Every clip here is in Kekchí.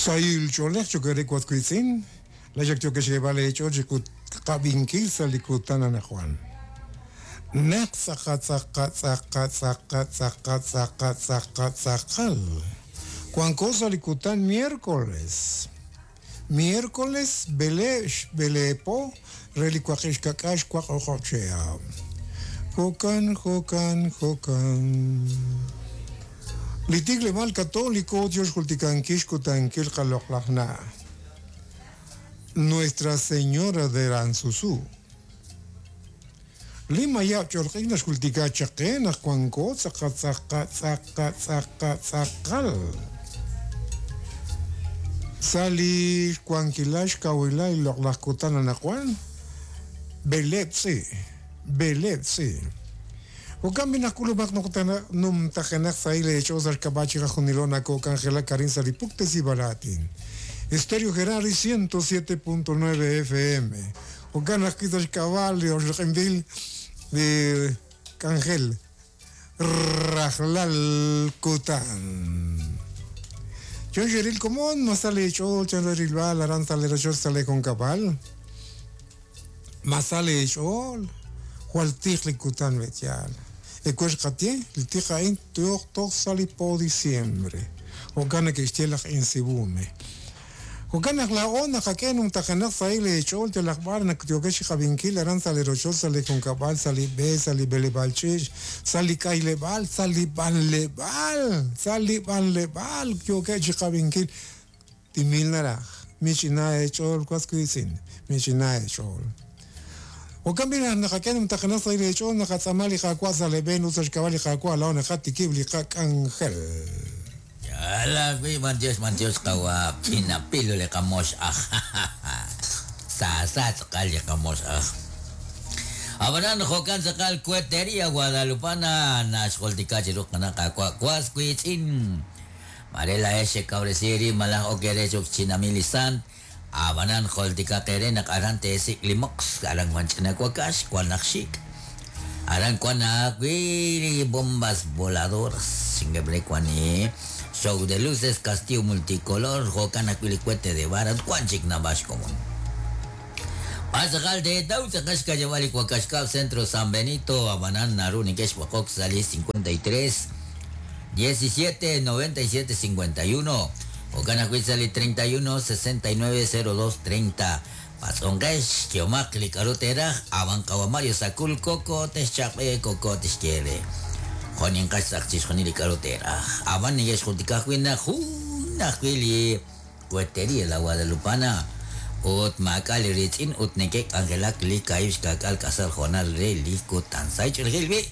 Sahil ch'oolej cho'q eere was wiitz'in, laa'ex ak yookex xyeeb'al eech'ool chi qab'inkil sa' li kutan anaqwan. Naq tz'aqa tz'aqa tz'aqa tz'aqa tz'aqa tz'aqa tz'aqa tz'aqal wanko sa' li kutan miércoles. Miércoles b'eleeb' xb'eleeb' po re li waqib' xka'k'aal xwaq o'q'ob' chihab'. Jo'kan, jo'kan, jo'kan. Li tikleb'aal Católico yo xjultikankil xkutankil qaloq'laj na' Nuestra Señora de Aranzuzú. Li mayab' ch'olq'ik naxjultika chaq qe naq wanko tz'aqa tz'aqa tz'aqa tz'aqa tz'aqal sa' li xwankilal xkawilal li loq'laj kutan anaqwan, b'eleeb' tz'i', b'eleeb' tz'i'. Jo'kan b'i' naq k'ulub'aq numtajenaq sahil eech'ool sa' xk'ab'a' chiqajunilo nakoo'k'anjelak arin sa' li puktesib'al aatin. Estéreo Gerardi 107.9 FM. Jo'kan ajwi' sa' xk'ab'a' li oxloq'inb'il li k'anjel rajlal kutan. Chan xeril komon, ma sa leech'ool chan re rilb'al aran sa' lee rochoch sa' lee junkab'al? Ma sa leech'ool? Jwal tiq li kutan be'yaal. Ewer xqaye, li tiq a'in tooq toj sa' li po diciembre. Jo'kan neke'xye laj Insibume. Jo'kan naq laa'o naqak'e numtajenaq sahil eech'ool yalaq b'ar naq yookex chi qab'inkil aran sa' li rochoch, sa' li junkab'al, sa' li b'e, sa' li b'eleb'aal ch'iich', sa' li k'ayleb'aal, sa' li b'anleb'aal, sa' li b'anleb'aal yookeb' chi qab'inkil. Timil naraj, mich'ina eech'ool was wiitz'in, mich'ina eech'ool. Jo'kan b'i' naq naqak'e numtajenaq sahil eech'ool naqatz'aama li Qaawa' sa' lee b'een ut sa' xk'ab'a' li Qaawa' laa'o naqatikib' li qak'anjel. Yaal ajwi' b'antiox b'antiox qawa' ch'ina pilo li qamox aj Saasa tz'aqal li qamox aj Ab'anan jo'kan tz'aqal Cueteria Guadalupana naxjultika chiru qana' Qaawa' was wiitz'in Maare laa'ex xekawresi eerib' malaj ok eere cho'q xchinamil li sant Ab'anan jultikaq eere naq aran teesik' li moqs, aran wan ch'ina wakax, wan aj xik'. Aran wan ajwi' li bombas voladoras, chinkeb' re wan li show de luces, castillo multicolor, jo'kan ajwi' li cohete de vara ut wan chik naab'al xkomon. B'ar tz'aqal teetaw tz'aqal xka'yab'al li wakax kab' Centro San Benito, ab'anan naru neke'xb'oqok sa' li 53 17 97 51. Jo'kan ajwi' sa' li 31 69 02 30. Patz'onqex, yehomaq li k'a'ru teeraj, a'b'an qawa' Mario Sacul Koko texchaq'b'e Koko tixye eere. Jo' ninqax tz'aq chixjunil li k'a'ru teeraj. A'b'an neke'xjultika ajwi' naq jun ajwi' li Cueteria La Guadalupana ut maak'a' li riitz'in ut neke'k'anjelak li kaahib' xka'k'aal k'asal hoonal re li kutan. Sahil ch'oolejil b'i',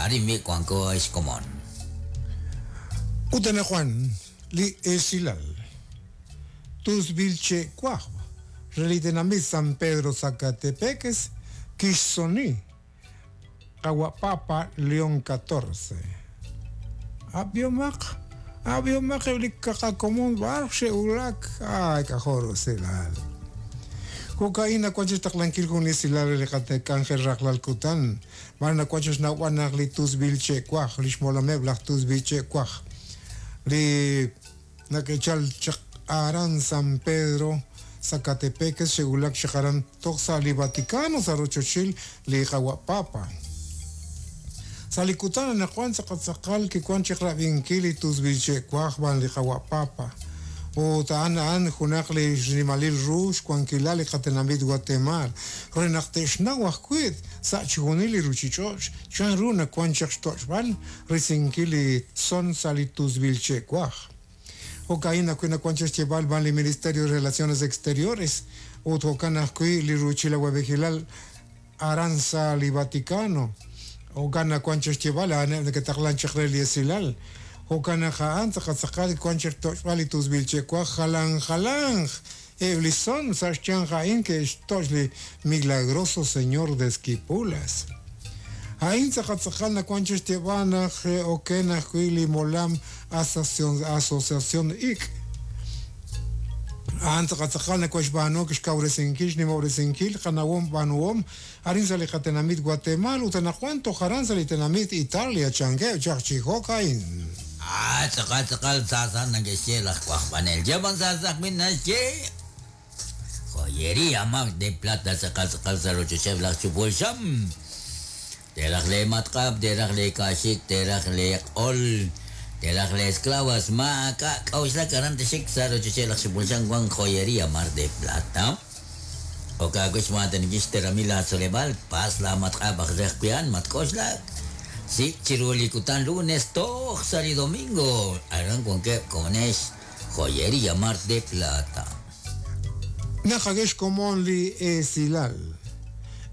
arin b'i' wanko ex komon. Ut anaqwan li esilal tusb'il che'wajb' re li tenamit San Pedro Sacatepéquez kixsoni qawa' Papa León XIV. Ab'ihomaq, ab'ihomaq eb' li qaqakomon b'ar xe'wulak, ay k'ajo' rusilal. Jo'ka'in nawank chi xtaqlankil jun li esilal re li qatek'anjel rajlal kutan, b'ar nawank chi xnawb'al naq li tusb'il che'waj, li xmolameb' laj tusb'il che'waj, li nake'chal chaq aran San Pedro Sacatepéquez xe'wulak chaq aran toj sa' li Vaticano sa' rochochil li qawa' Papa. Sa' li kutan anaqwan tz'aqal tz'aqal kiwan chaq rab'inkil li tusb'il che'waj b'an li qawa' Papa. Ut a'an a'an junaq li xnimalil ru xwankilal li qatenamit Watemaal re naq te'xnaw ajwi' sa' chixjunil li ruchich'och' chan ru nawan chaq xtoch'b'al risinkil li son sa' li tusb'il che'waj. Jo'ka'in ajwi' nawan chaq xyeeb'al b'an li Ministerio de Relaciones Exteriores ut jo'kan ajwi' li ruuchil awa'b'ejilal aran sa' li Vaticano. Jo'kan nawan chaq xyeeb'al a'aneb' neke'taqlan chaq re li esilal. Jo'kan naq a'an tz'aqal tz'aqal wan chaq xtoch'b'al li tusb'il che'waj jalan jalanq eb' li son sa' xyanq a'in ke'xtoch' li Milagroso Señor de Esquipulas. A'in tz'aqal tz'aqal nawan chaq xyeeb'al naq xe'oken ajwi' li molam Asociación Ik'. A'an tz'aqal tz'aqal nakoxb'aanu xkawresinkil xnimob'resinkil qanawom b'aanuhom arin sa' li qatenamit Watemaal ut anaqwan toj aran sa' li tenamit Italia, chankeb' chaq chi jo'ka'in. Tz'aqal tz'aqal sasa nake'xye laj wajb'anel. Yaban sasa ajwi' naxye. Joyería Mar de Plata tz'aqal tz'aqal sa' rochocheb' laj chupul xam. Teeraj le matq'ab', teeraj le kaaxik, teeraj le q'ol, teeraj le esclavas, maak'a' k'a'uxlak aran texik sa' rochocheb' laj chupul xam wan Joyería Mar de Plata. Okaawix maataninkil xteramil laatzoleb'aal, pas la matq'ab' aj re ajwi' a'an matk'oxlak. Sik' chiru li kutan lunes toj sa' li domingo, aran wankeb' komonex Joyería Mar de Plata. Naqak'e xkomon li esilal.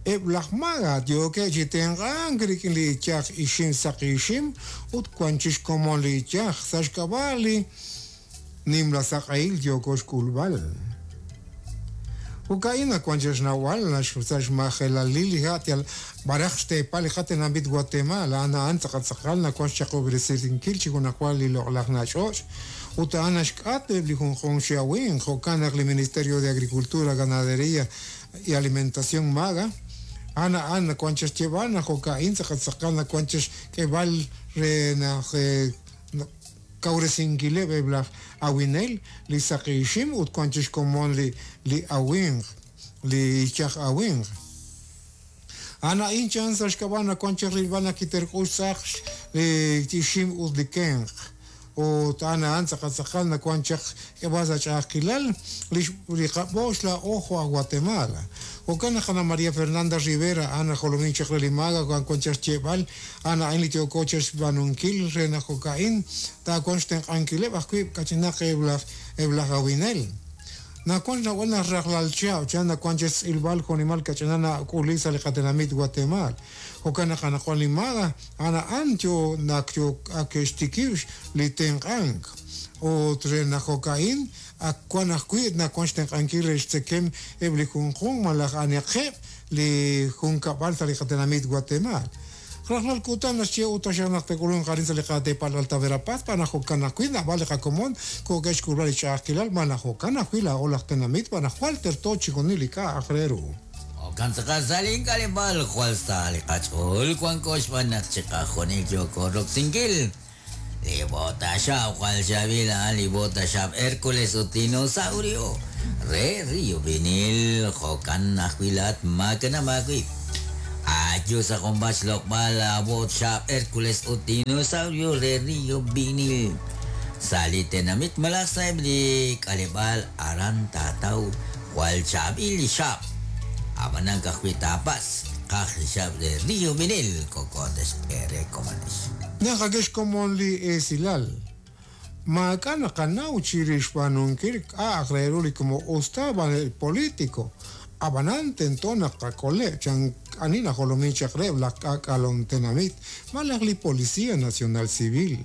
Eb' laj maga yookeb' chi tenq'ank rik'in li iyaj ixim saqi ixim ut wan chi xkomon li iyaj sa' xk'ab'a' li nimla saq'ehil yooko xk'ulb'al. Jo'ka'in naq wan chi xnawb'al sa' xmajelalil li ha' yal b'araq xteepal li qatenamit Guatemala a'an a'an tz'aqal tz'aqal nawank xchaqob'resinkil chi junajwa li loq'laj nach'och' ut a'an naxk'at eb' li junjunq chi awinq. Jo'kan naq li Ministerio de Agricultura, Ganadería y Alimentación MAGA a'an a'an nawank chi xyeeb'al naq jo'ka'in tz'aqal tz'aqal nawank chi xk'eeb'al re naq kawresinkileb' eb' laj awinel li saqi ixim ut wan chi xkomon li li awinq, li iyaj awinq. A'an a'in chan sa' xk'ab'a' naq wan chi rilb'al naq kiterk'ux tz'aq li ixim ut li kenq. Ut a'an a'an tz'aqal tz'aqal naq wan chaq k'eb'al sa' ch'a'ajkilal li li qab'oox laa'o jo' aj Guatemala. Jo'kan naq Ana María Fernanda Rivera a'an aj jolomink chaq re li MAGA wan wan chaq xyeeb'al a'an a'in li yooko chixb'aanunkil re naq jo'ka'in taawanq xtenq'ankileb' ajwi' kach'inaq eb' laj eb' laj awinel. Nawank xnawb'al naq rajlal chihab' chan nawank chixtz'ilb'al jo'nimal kach'ina nak'uli sa' li qatenamit Guatemala. Jo'kan naq anaqwan li MAGA a'an a'an yo naq yo ak ke'xtikib' li tenq'ank. Ut re naq jo'ka'in ak wan ajwi' nawank xtenq'ankil re xtzekem eb' li junjunq malaj aniqeb' li junkab'al sa' li qatenamit Guatemala. Rajlal kutan naxye ut taxaq naq te'k'ulunq arin sa' li qateepal Alta Verapaz b'an naq jo'kan ajwi' naab'al li qakomon ko'ke'x xk'ulb'al li ch'a'ajkilal b'an naq jo'kan ajwi' laa'o laj tenamit b'an naq jwal terto chixjunil li k'a'aq re ru. Jo'kan tz'aqal sa' li k'aleb'aal jwal sa li qach'ool wanko xb'aan naq chiqajunil yooko roksinkil. Li b'otaxab' jwal chaab'il a'an li b'otaxab' Hércules ut Dinosaurio re Río Vinil. Jo'kan ajwi' laa'at maakanab' aawib'. Ayu sa' junpaat xloq'b'al laab'otaxab' Hércules ut Dinosaurio re Río Vinil. Sa' li tenamit malaj sa'eb' li k'aleb'aal aran taataw jwal chaab'il li xab'. Ab'anan ka'ajwi' taapas qaj li xab' re Río Vinil kokotex ere komanex. Naqak'e xkomon li esilal. Maak'a' naqanaw chirix xb'aanunkil k'a'aq re ru li como usta b'an el político. Ab'anan tento naq qak'oleb' chan ani najolomin chaq reheb' laj k'aak'alom tenamit malaj li Policía Nacional Civil.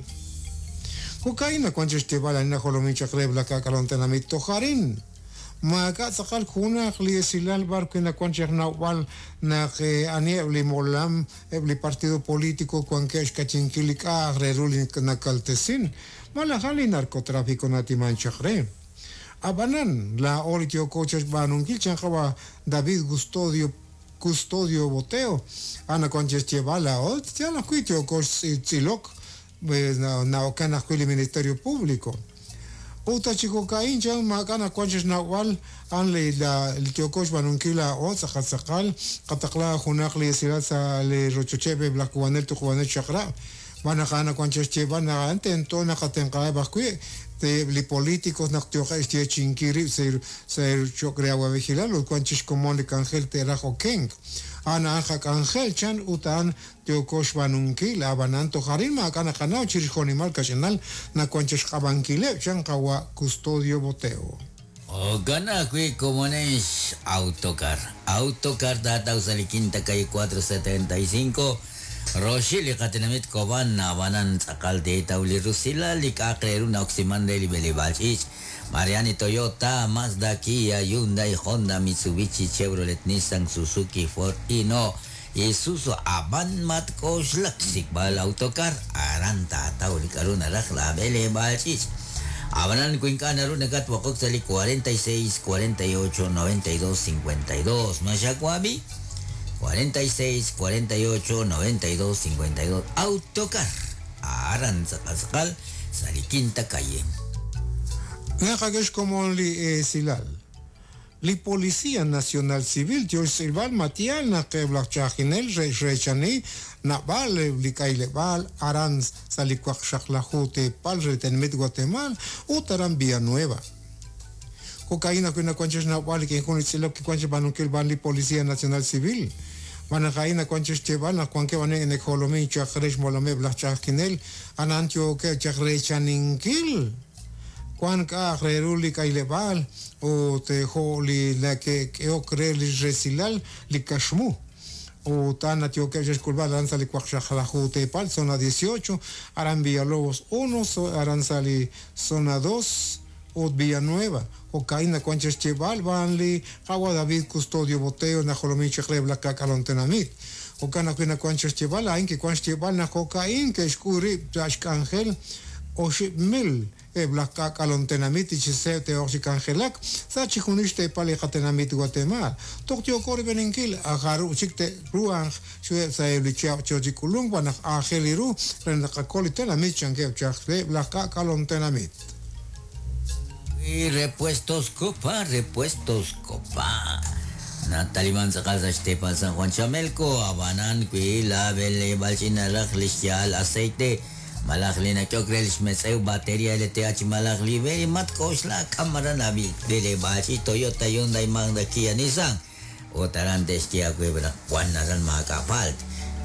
Jo'ka'in nawank chi xyeeb'al ani najolomin chaq reheb' laj k'aak'alom tenamit toj arin. Maak'a' tz'aqal junaq li esilal b'ar wi' nawank chi xnawb'al naq aniheb' li molam eb' li partido político wankeb' xk'achinkil li k'a'aq re ru li nakaltesin malaj a'an li narcotráfico natiman chaq re. Ab'anan laa'o li yooko chi xb'aanunkil chan qawa' David Custodio Custodio Boteo a'an nawank chi xyeeb'al laa'o yal ajwi' yooko xtz'ilok na'okan ajwi' li Ministerio Público. Ut chi jo'ka'in chan maak'a' nawank chi xnawb'al a'an li li yooko xb'aanunkil laa'o tz'aqal tz'aqal qataqla junaq li esilal sa' li rochocheb' eb' laj k'uub'anel tuqub'anel chaq'rab' b'an naq a'an nawank chi xyeeb'al naq a'an tento naqatenq'aheb' ajwi' eb' li políticos naq yooqeb' xyeechi'inkil rib' sa' cho'q re awa'b'ejilal ut wan chi xkomon li k'anjel te'raj okenk. A'an a'an qak'anjel chan ut a'an yooko xb'aanunkil ab'anan toj arin maak'a' naqanaw chirix jo'nimal kach'inal nawank chi xq'ab'ankileb' chan qawa' Custodio Boteo. Jo'kan ajwi' komonex Autocar. Autocar taataw sa' li Quinta Calle 475 roxil li qatenamit Cobán ab'anan tz'aqal teetaw li rusilal li k'a'aq re ru na'oksiman re li b'eleb'aal ch'iich'. Mariani Toyota, Mazda, Kia, Hyundai, Honda, Mitsubishi, Chevrolet, Nissan, Suzuki, Ford, Hino, Isuzu, ab'an matk'oxlak xsik'b'al Autocar aran taataw li k'a'ru naraj la b'eleb'aal ch'iich'. Ab'anan wi ink'a' naru nakatwaqok sa' li 46 48 92 52. Ma xawab'i? 46 48 92 52. Autocar. Aran tz'aqal tz'aqal. Sa' li Quinta Calle. Naqak'e xkomon li esilal. Li Policía Nacional Civil yo xtz'ilb'al ma yaal naq eb' laj ch'a'ajkinel re xreechani naab'al eb' li k'ayleb'aal aran sa' li waqxaqlaju teepal re tenamit Guatemala ut aran Villanueva. Jo'ka'in ajwi' nawank chi xnawb'al rik'in jun li tz'ilok kiwank chi b'aanunkil b'an li Policía Nacional Civil. Xb'aan naq a'in nawank chi xyeeb'al naq wankeb' ani neke'jolomink chaq re xmolameb' laj ch'a'ajkinel, a'an yookeb' chaq reechaninkil Wank k'a'aq re ru li k'ayleb'aal ut jo' li nake'k'ehok re li resilal li kaxmu. Ut a'an yookeb' chixk'ulb'al aran sa' li waqxaqlaju teepal, zona 18, aran Villalobos 1, aran sa' li zona 2 ut Villanueva. Jo'ka'in nawank chixyeeb'al b'an li Qawa' David Custodio Boteo najolomin chaq reheb' laj k'aak'alom tenamit. Jo'kan ajwi' nawank chixyeeb'al a'in kiwank xyeeb'al naq jo'ka'in ke'xk'ul rib' sa' xk'anjel 5,000 eb' laj k'aak'alom tenamit li chi seeb' te'oq chi k'anjelak sa' chixjunil xteepal li qatenamit Watemaal. Toj yooko rib'eninkil jarub' chik te'ruhanq chiruheb' sa' eb' li chihab' yo chi k'ulunk xb'aan naq aajel li ru re naq tqakol li tenamit chankeb' chaq eb' laj k'aak'alom tenamit. Y Repuestos Copa, Repuestos Copa. Nataliman tz'aqal sa' xteepal San Juan Chamelco, ab'anan wi la b'eleb'aal ch'ina raj li xya'al aceite malaj li nak'ehok re li xmetz'ew bateria LTH malaj li b'e matk'oxla k'am aran la b'eleb'aal ch'iich Toyota, Hyundai, Mazda, Kia, Nissan ut aran te'xye aawe naq wan aran maak'a' paalt.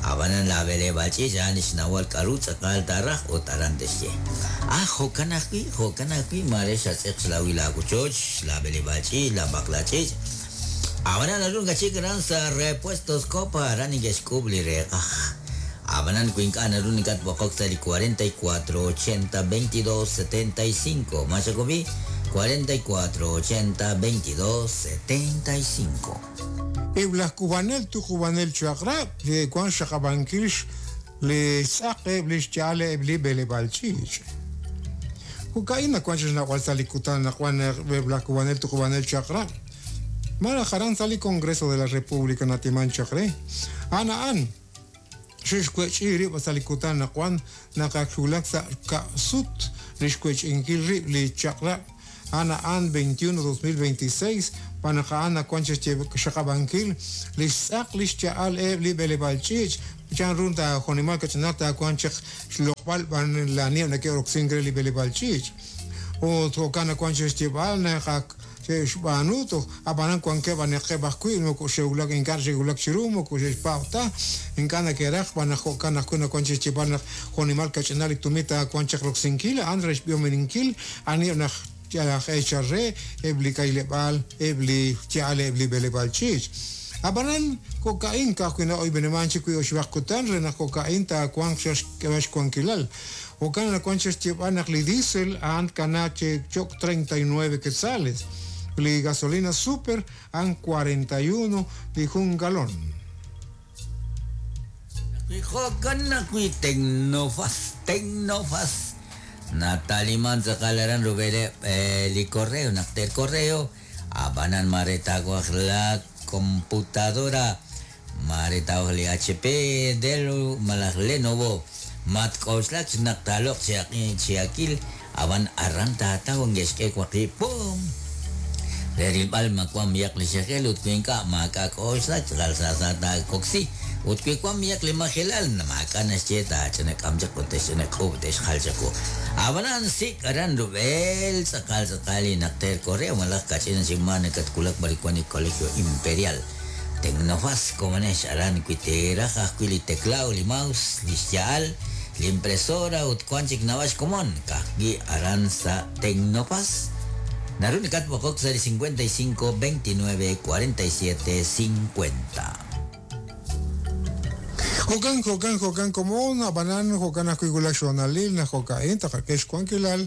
Ab'anan la b'eleb'aal ch'iich a'an li xnawal k'a'ru tz'aqal taaraj ut aran te'xye. Ah, jo'kan ajwi', jo'kan ajwi' maare xatz'eq xlawil laawochoch, la b'eleb'aal ch'iich, la b'aqla ch'iich. Ab'anan naru nakachik aran sa' Repuestos Copa, aran neke'xk'uub' li reeqaj. Ab'anan wi ink'a' naru nakatb'oqok sa' li 44 80 22 75. Ma xakub'i? 44 80 22 75. Eb' laj k'uub'anel tuqub'anel chaq'rab' li wank xxaqab'ankil li xtz'aq eb' li xya'al eb' li b'eleb'aal ch'iich'. Jo'ka'in nawank chi xnawb'al sa' li kutan naq wank eb' laj k'uub'anel tuqub'anel chaq'rab'. Malaj aran sa' li Congreso de la República natimank chaq re. A'an a'an xe'xwech'i rib' sa' li kutan naq wank naq ak xwulak sa' ka'sut li xwech'inkil rib' li chaq'rab' a'an a'an 21 2026 xb'aan naq a'an nawank chi xxaqab'ankil li xtz'aq li xya'al eb' li b'eleb'aal ch'iich' chan ru jo'nimal kach'inaq taawanq chaq xloq'b'al b'an laaniheb' nake'roksink re li b'eleb'aal ch'iich' ut jo'kan nawank chi xyeeb'al naq ak xe'xb'aanu toj ab'anan wankeb' anaqeb' ajwi' moko xe'wulak ink'a' xe'wulak chiru moko xe'xpaab' ta ink'a' nake'raj xb'aan naq jo'kan ajwi' nawank chi xyeeb'al naq jo'nimal kach'inal li tumit taawanq chaq roksinkil a'an re xb'ihominkil aniheb' naq laj eechal re eb' li k'ayleb'aal eb' li xya'al eb' li b'eleb'aal ch'iich'. Ab'anan jo'ka'in ka'ajwi' na'oyb'enimank chik wi' oxib'aq kutan re naq jo'ka'in taawanq xk'eb'al xwankilal. Jo'kan nawank chi xyeeb'al naq li diesel a'an tkanaaq chi cho'q 39 quetzales, li gasolina super a'an 41 li jun galon. Jo'kan ajwi' Tecnofas, Tecnofas. Nataliman tz'aqal aran rub'eleb' li correo, naq te correo, ab'anan maare taawaj la computadora, maare taawaj li HP, Dell malaj Lenovo. Matk'oxlak naq taaloq' chi akil, ab'an aran taataw nge'xk'e waqib' pum. Re rilb'al ma wank b'ayaq li xejel ut wi ink'a' maak'a' k'oxlak tz'aqal sa sa taakoksi. Ut wi wank b'ayaq li majelal, maak'a' naxye taach'inak'am chaq ut te'xch'inak'uub' te'xjal chawu. Ab'anan sik' aran rub'el tz'aqal tz'aqal li naqter correo malaj kach'in chik ma nakatwulak b'ar wank li Colegio Imperial. Tecnofas komonex aran wi teeraj ajwi' li teclado, li mouse, li xya'al, li impresora ut wank chik naab'al xkomon ka'ajwi' aran sa' Tecnofas. Naru nakatb'oqok sa' li 55 29 47 50. Jo'kan, jo'kan, jo'kan komon, ab'anan jo'kan ajwi' wulak xhoonalil naq jo'ka'in taqak'e xwankilal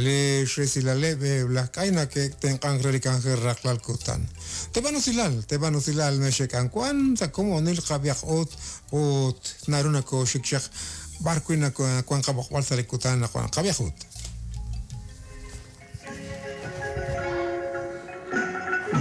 li xresilaleb' eb' laj k'ay nake'tenq'ank re li k'anjel rajlal kutan. Teb'an usilal, teb'an usilal mexek'anwan sa' komonil qab'ihaq ut ut naru nakooxik chaq b'ar wi' nawank qab'oqb'al sa' li kutan naq wank qab'ihaq ut.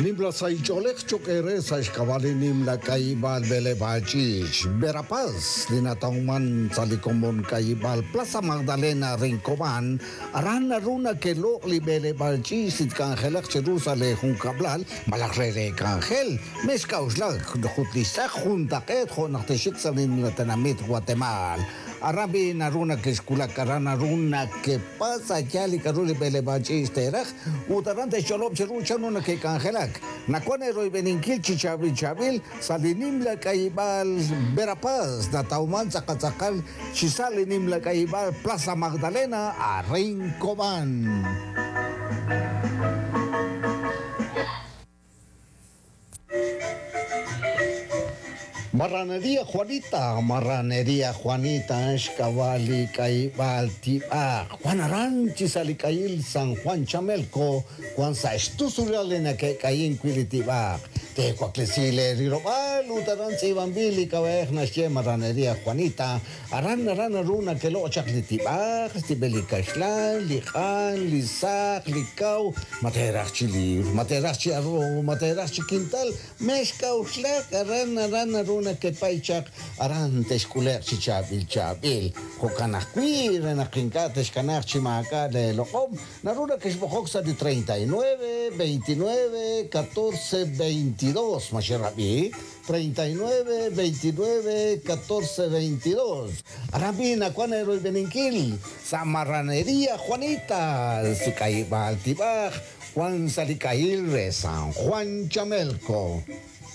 Nimla sahil ch'oolej cho'q eere sa' xk'ab'a' li nimla k'ayib'aal b'eleb'aal ch'iich' Verapaz li natawman sa' li komon k'ayib'aal Plaza Magdalena Rincobán. Aran naru nakeloq' li b'eleb'aal ch'iich' li tk'anjelaq cheru sa' leejunkab'lal malaj re leek'anjel. Mexk'a'uxlak ut li xtz'aq juntaq'eet jo' naq texxik sa' li nimla tenamit Watemaal. Aran b'i' naru nakexwulak, aran naru nakepatz' a' yaal li k'aru li b'eleb'aal ch'iich' teeraj ut aran te'xch'olob' cheru chanru nake'k'anjelak. Nawank eeroyb'eninkil chi chaab'il chaab'il sa' li nimla k'ayib'aal Verapaz natawmank tz'aqal tz'aqal chi sa' li nimla k'ayib'aal Plaza Magdalena arin Cobán. Marranería Juanita, Marranería Juanita, xk'ab'a' li k'ayib'aal tib'aq. Wan aran chi sa' li k'ayil San Juan Chamelco, wan sa' xtusulal li nake'k'ayink wi' li tib'aq. Teewaklesi leerilob'aal ut aran tz'iib'anb'il li k'ab'a'ej naxye Marranería Juanita. Aran aran naru nakeloq' chaq li tib'aq, xtib'el li kaxlan, li q'an, li saq, li kaw, ma teeraj chi liibr, ma teeraj chi arroz, ma teeraj chi kintal, Mexk'a'uxlak, aran aran naru nakepay chaq, aran texk'ule'q chi chaab'il chaab'il. Jo'kan ajwi', re naq ink'a' texkanaaq chi maak'a' leeloq'om, naru nakexb'oqok sa' li 39, 29, 14, 22. Ma xerab'i? 39, 29, 14, 22. Aran b'i' nawank eeroyb'eninkil sa' Marranería Juanita, li k'ayib'aal tib'aj. Wan sa' li k'ayil re San Juan Chamelco.